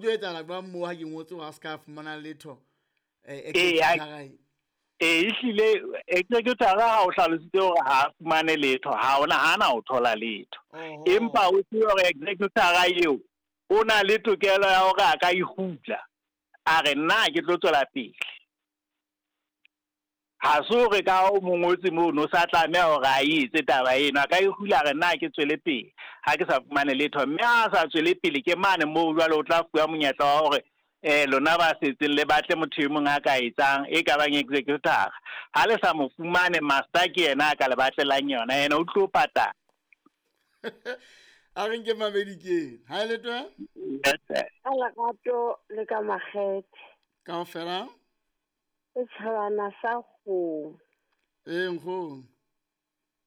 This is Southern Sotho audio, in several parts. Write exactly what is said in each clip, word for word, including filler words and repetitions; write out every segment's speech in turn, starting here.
tlo etsahala jwang moo ha ke ngotse hore a se ka fumana letho eh executor e ehlile executor ha o hlalositse hore ha fumane letho ha ona ha na o thola letho empa o tsebe hore executor eo o na le tokelo ya hore a ka ihutla a re nna ke tlo tswela pele ha se hore ka o mongotse mono o sa tlameha hore a etse taba eno a ka ihula re nna ke tswele pele ha ke sa fumane letho mme ha sa tswele pele ke mane moo jwale o tla fuwa monyetla wa hore eh lona ba setseng le batle motho e mong a ka etsang e ka bang executor ha le sa mo fumane master ke yena a ka le batlelang yona yena o tlo patala a re nke mabedi ke ha le twe ka lerato le ka makgethe kaofela setjhabana sa kgomo ee nkgono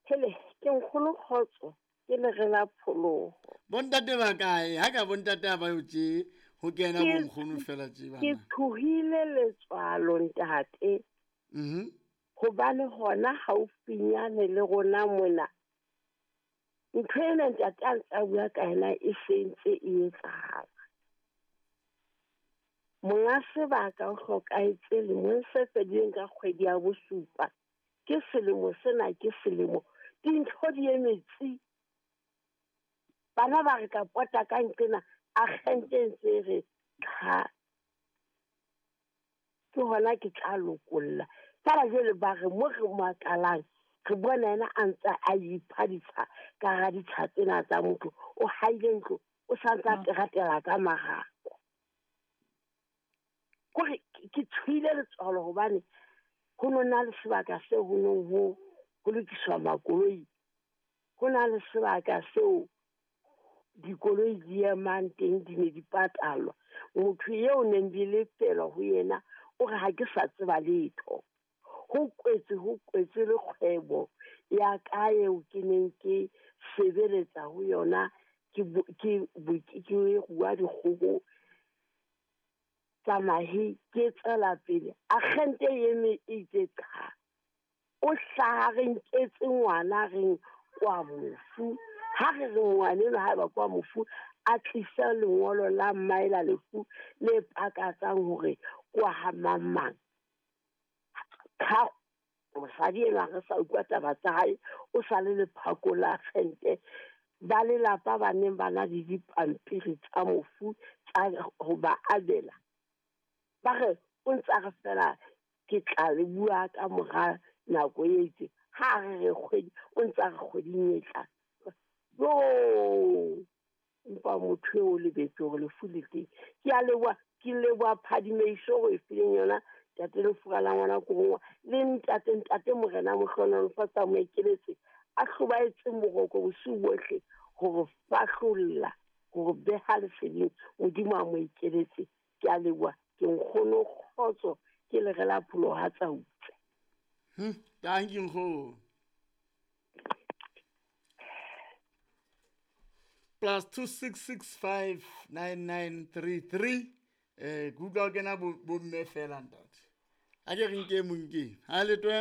hele ke nkgono kgotso ke lere la pholoho bontate ba kae ha ka bontate ha ba yo tje ho kena bonkgono fela tje bana ke tshohile letswalo ntate mhm hobane hona haufinyane le rona mona ntho ena ntate a ntse a bua ka yena e sentse e etsahala monga sebaka o hlokahetse lemong se fedileng ka kgwedi ya bosupa ke selemo sena ke selemo dintho di emetse bana ba re ka pota ka nqena agente ntse re qha ke hona ke tla lokolla fela jwale ba re mo re makalang re bona yena a ntse a ipha ditsha ka hara ditsha tsena tsa motho o haile ntlo o sa ntse a teratela ka marako kore ke tshohile letswalo hobane ho no na le sebaka seo ho nong ho ho lokiswa makoloi ho na le sebaka seo dikoloi di emang teng di ne di patalwa motho eo neng di lefelwa ho yena o re ha ke sa tseba letho ho kwetse ho kwetse le kgwebo ya ka eo ke neng ke sebeletsa ho yona ke ke ke rua dikgoho tsa mahe ke tswela pele agente eme e itse qha o hlaha re nketse ngwana reng kwa mofu ha re re ngwana enwa haeba kwa mofu a tlise lengolo la mmae la lefu le pakatsang hore kwa ha mang mang ha mosadi enwa re sa utlwa taba tsa hae o sa le lephako la agente ba lelapa ba neng ba na le dipampiri tsa mofu tsa ho ba abela ba re o ntse a re fela ke tla le bua ka mora nako e itseng ha re re kgwedi o ntse a re kgweding e tlang yo empa motho eo o lebetse hore lefu le teng ke a leboha ke leboha phadimeiso ho e fileng yona ntate Lefura la ngwana Korongwa le ntate ntate Morena Mohlonolofatsa mo ekeletse a hlobaetseng boroko bosiu bohle hore fahlolla hore beha leseding Modimo a mo ekeletse ke a leboha ke nkgono kgotso ke lere la pholoho ha tsa utse hm thank you nkgono plus two six six five nine nine three three eh ke utlwa kena bo mme fela ntate a ke re nke monke ha le twe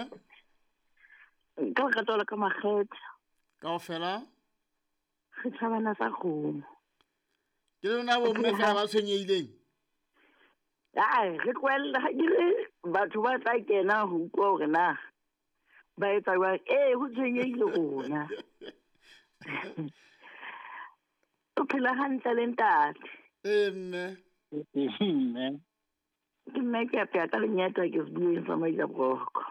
ka lerato la ka makgethe kaofela re tjhabana sa kgomo ke lona bo mme fela ba tshwenyehileng ai re tlohella ha ke re batho ba tla kena ho utlwa hore na ba etsa jwang ee ho tshwenyehile rona o phela hantle le ntate ee mme mme ke mme ke apeya ka lenyata ke sebueng sa Majaboroko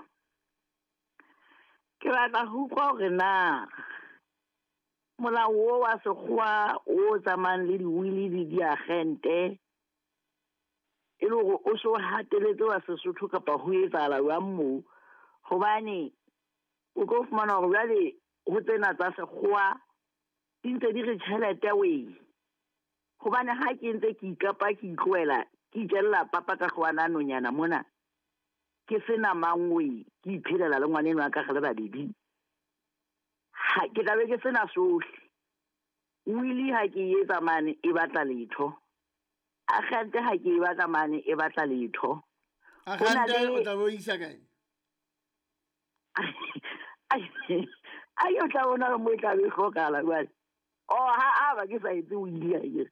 ke batla ho utlwa hore na molao o wa sekgowa o tsamayang le diwili le diagente e le hore o so hateletse wa Sesotho kapa ho etsahala jwang moo hobane o tlo fumana hore jwale ho tsena tsa sekgowa di ntse di re tjhelete wee hobane ha ke ntse ke ikapa ke itlohela ke itjella papa ka hlwana nonyana mona ke sena mangwe ke iphelela le ngwana enwa ka re le babedi ha ke tla be ke sena sohle wili ha ke etsa mane e batla letho agente ha ke e batla mane e batla letho agente o tla bo isa kae ai o tla bona mo e tla be hlokahala jwale oh ha a ba ke sa etse wili ha ke